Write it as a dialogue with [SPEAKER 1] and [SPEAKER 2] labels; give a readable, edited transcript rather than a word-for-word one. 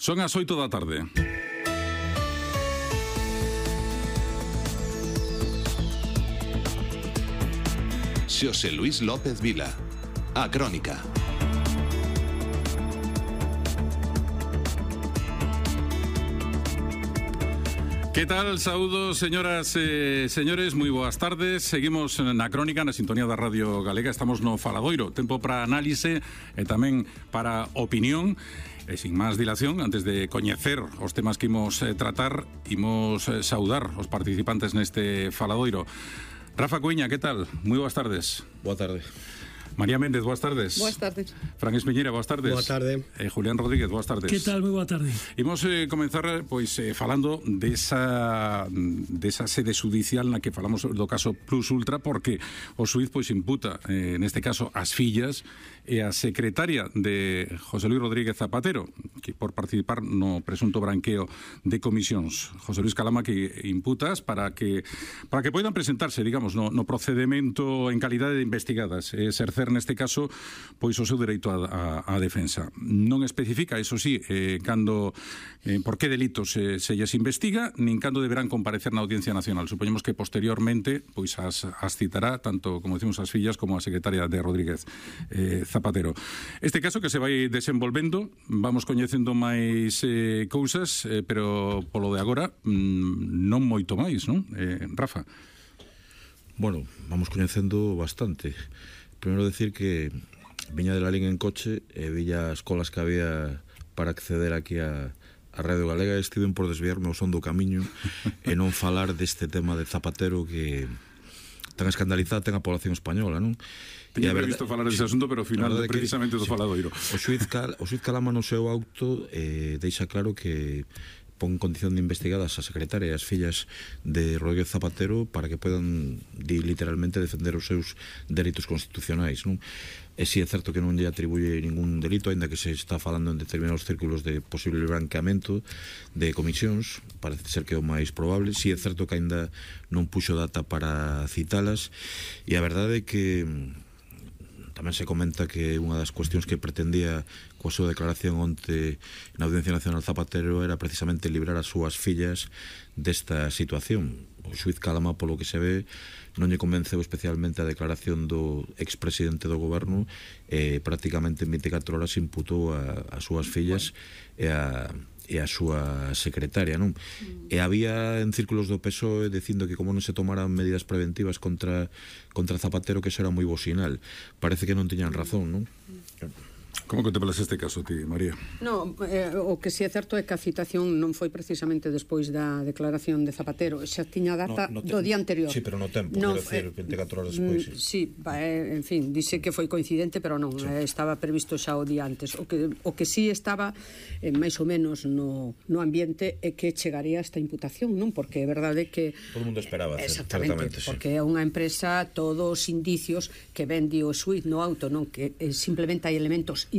[SPEAKER 1] Son as 8 da tarde.
[SPEAKER 2] Xosé Luis López Vila, A Crónica.
[SPEAKER 1] Que tal? Saúdos, señoras e señores, moi boas tardes. Seguimos na Crónica, na sintonía da Radio Galega. Estamos no Faladoiro, tempo para análise e tamén para opinión. E sin máis dilación, antes de coñecer os temas que imos tratar, imos saudar os participantes neste Faladoiro. Rafa Cuiña, que tal? Moi boas tardes.
[SPEAKER 3] Boa tarde.
[SPEAKER 1] María Méndez, boas tardes.
[SPEAKER 4] Boas tardes.
[SPEAKER 1] Fran Espeñera, boas tardes.
[SPEAKER 3] Boa tarde.
[SPEAKER 1] Julián Rodríguez, boas tardes.
[SPEAKER 5] Que tal? Moi boa tarde.
[SPEAKER 1] Imos comenzar falando desa sede judicial na que falamos do caso Plus Ultra, porque o xuiz imputa, neste caso, as fillas e a secretaria de José Luis Rodríguez Zapatero, que por participar no presunto branqueo de comisións. José Luis Calama que imputas para que poidan presentarse, digamos, no procedimento en calidade de investigadas, exercer neste caso pois o seu dereito á defensa. Non especifica, eso sí, por que delitos se lles investiga, nin cando deberán comparecer na Audiencia Nacional. Supoñemos que posteriormente pois as citará tanto, como decimos, as fillas como a secretaria de Rodríguez Zapatero. Este caso que se vai desenvolvendo, vamos coñecendo máis cousas, pero polo de agora non moito máis, non? Rafa.
[SPEAKER 3] Bueno, vamos coñecendo bastante. Primeiro decir que viña de Lalín en coche e villa as colas que había para acceder aquí a Radio Galega. Estiven por desviarme ao son do camiño e non falar deste tema de Zapatero que tan escandalizada ten a población española, non?
[SPEAKER 1] Tiña previsto falar dese asunto, pero ao final precisamente do Faladoiro.
[SPEAKER 3] O xuiz Calama no seu auto deixa claro que pon condición de investigadas a secretaria e as fillas de Rodríguez Zapatero para que podan literalmente defender os seus dereitos constitucionais, non? E si é certo que non lle atribuye ningún delito, aínda que se está falando en determinados círculos de posible branqueamento de comisións, parece ser que é o máis probable. Si é certo que aínda non puxo data para citalas, e a verdade é que tamén se comenta que unha das cuestións que pretendía coa súa declaración onte na Audiencia Nacional Zapatero era precisamente librar as súas fillas desta situación. O xuiz Calama, polo que se ve, non lle convenceu especialmente a declaración do expresidente do goberno e prácticamente en 24 horas imputou as súas fillas e a súa secretaria, non? E había en círculos do PSOE dicindo que como non se tomaran medidas preventivas contra Zapatero, que eso era moi bo sinal. Parece que non tiñan razón, non?
[SPEAKER 1] Como contemplas este caso ti, María?
[SPEAKER 4] No, o que si é certo é que a citación non foi precisamente despois da declaración de Zapatero, xa tiña data do día anterior.
[SPEAKER 3] Sí, pero no tempo, quero decir, 24 horas despois.
[SPEAKER 4] Sí, en fin, dice que foi coincidente, pero non, estaba previsto xa o día antes. O que sí estaba máis ou menos no ambiente é que chegaría esta imputación, non? Porque é verdade que
[SPEAKER 3] todo o mundo esperaba,
[SPEAKER 4] exactamente, porque é unha empresa, todos os indicios que ven o xuiz no auto, non? Que simplemente hai elementos